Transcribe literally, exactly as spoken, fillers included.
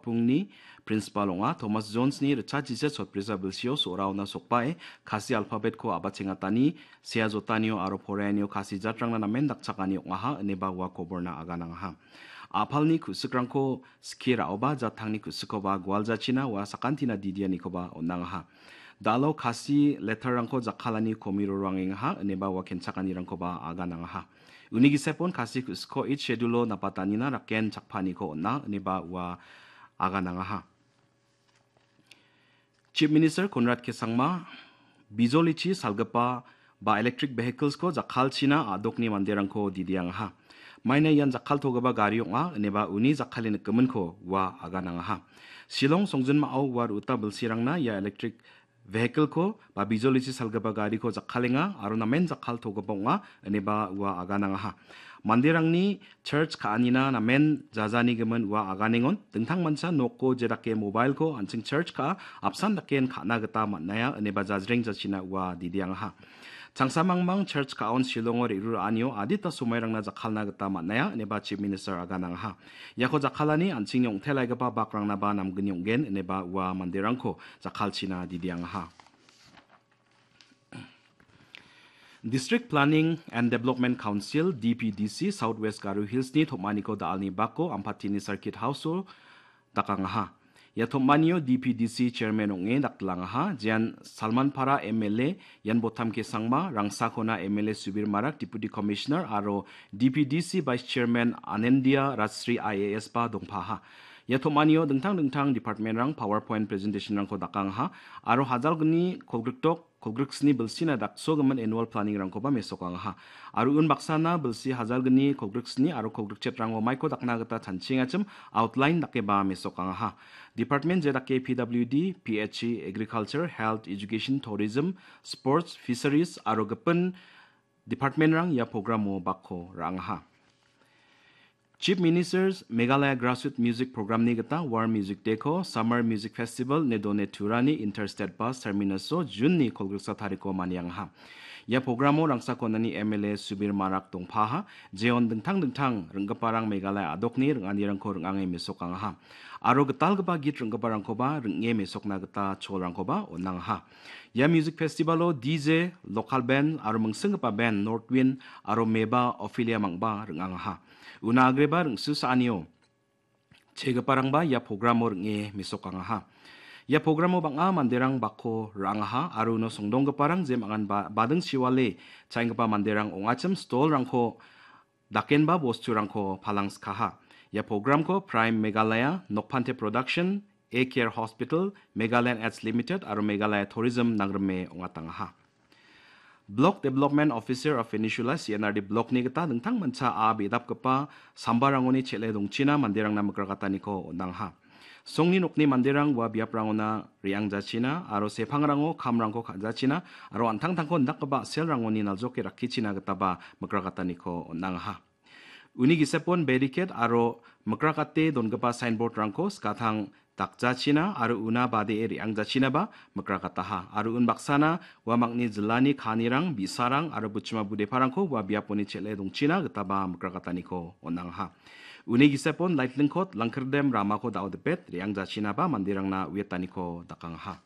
Pungni principal ong·a. Thomas Jonesni ritchachise sotbrisa bilsio so·raona sokbae Khasi alphabetko abachengatani, sea jotanio aro poraianio Khasi jatrangna namen dakchakani ong·aha, ineba ua koborna aganangaha. A·palni ku·sikrangko skie ra·oba, jattangni ku·sikkoba gualjachina ua sakantina didianikoba on·angaha. Da·alo Khasi letterrangko jakkalani komiro roangengaha, ineba ua kenchakanirangkoba aganangaha. Uni gisepon Khasi ku·sikko Eighth Schedule-o napatanina raken chakpaniko on·a, ineba ua aganangaha. Chief Minister Conrad K Sangma bijolichi salgipa ba electric vehicles-ko jakkalchina a·dokni manderangko didiangaha. Maina ian jakkaltogipa gari ong·a, ineba uni jakkale nikgiminko ua aganangaha. Shillong songjinmao ua ru·uta bilsirangna ia electric vehicle-ko ba bijolichi salgipa gariko jakkalenga aro namen jakkaltogipa ong·a, ineba ua aganangaha. Manderangni church ka·anina namen jajanigimin ua aganengon, dingtangmancha noko jedake mobile-ko an·ching church ka·a apsan daken ka·na gita man·aia, ineba jajreng jachina ua didiangaha. Changsamangmang church ka·on Shillongo re·ruraanio adita somairangna jakkalna gita man·aia, ineba Chief Minister aganangaha. Iako jakkalani an·chingni ong·telaigipa bakrangnaba namgni ong·gen, ineba ua manderangko jakkalchina didiangaha. District Planning and Development Council, D P D C, South West Garo Hills-ni tom·aniko da·alni bako Ampatini Circuit House-o dakangaha. Ia tom·anio D P D C Chairman ong·e daktilangaha, jean Salmanpara M L A Yanbotam K Sangma, Rangsakona M L A Subir Marak, Deputy Commissioner, aro D P D C Vice Chairman Anendia Rajsri I A S ba dongpaha. Ia tom·anio dingtang dingtang department-rang PowerPoint presentation-rangko dakangaha, aro hajalgni kolgrikdok kolgriksni bilsina daksogimin annual planning-rangkoba mesokangaha. Aro unbaksana bilsi hajalgni kolgriksni aro kolgrikchetrango maiko dakna gita chanchiengachim outline dakeba mesokangaha. Department jedake P W D, P H E, Agriculture, Health, Education, Tourism, Sports, Fisheries aro gipin department-rang ia programo bakko ra·angaha. Chief Minister's Meghalaya Grassroots Music Programni gita War Music Day-ko Summer Music Festival ine done turani Interstate Bus Terminus-o June-ni kolgriksa tariko maniangaha. Ia programo Rangsakonani M L A Subir Marak dongpaha, jeon dingtang dingtang ring·giparang Meghalaya a·dokni ring·anirangko ring·ange mesokangaha. Aro gitalgipa git ring·giparangkoba ring·e mesokna gita cholrangkoba on·angaha. Ia music festival-o D J, local band aro mingsinggipa band North Wind aro Meba Ophelia Mangba ring·angaha. Una agreba ring·susaanio chegiparangba ia programo ring·e mesokangaha. Ia programo bang·a manderang bakko ra·angaha aro uno songdonggiparang jemangan ba-, bading chiwale cha·enggipa manderang ong·achim stall-rangko dakenba bosturangko palangskaha. Ia programko Prime Meghalaya, Nokphante Production, A Care Hospital, Meghalaya Ads Limited aro Meghalaya Tourism nangrime ong·atangaha. Block Development Officer of Peninsula, C N R D Block-ni gita dingtangmancha a·bidapgipa sambarangoni chel·e dongchina manderangna mikrakataniko on·angaha. Songni nokni manderang ua biaprangona re·angjachina aro sepangrango kamrangko ka·jachina aro an·tangtangko indakgipa a·selrangoni naljoke rakkichina gitaba mikrakataniko on·angaha. Uni gisepon barricade aro mikrakate dongipa signboard-rangko skatang dakjachina aro una badee re·angjachinaba mikrakataha. Aro unbaksana uamangni jilani kanirang, bi·sarang aro buchima budeparangko ua biaponi chel·e dongchina gitaba mikrakataniko on·angaha. Uni gisepon Laitlingkot Langkirdem ramako da·o dipet re·angjachinaba manderangna uiataniko dakangaha.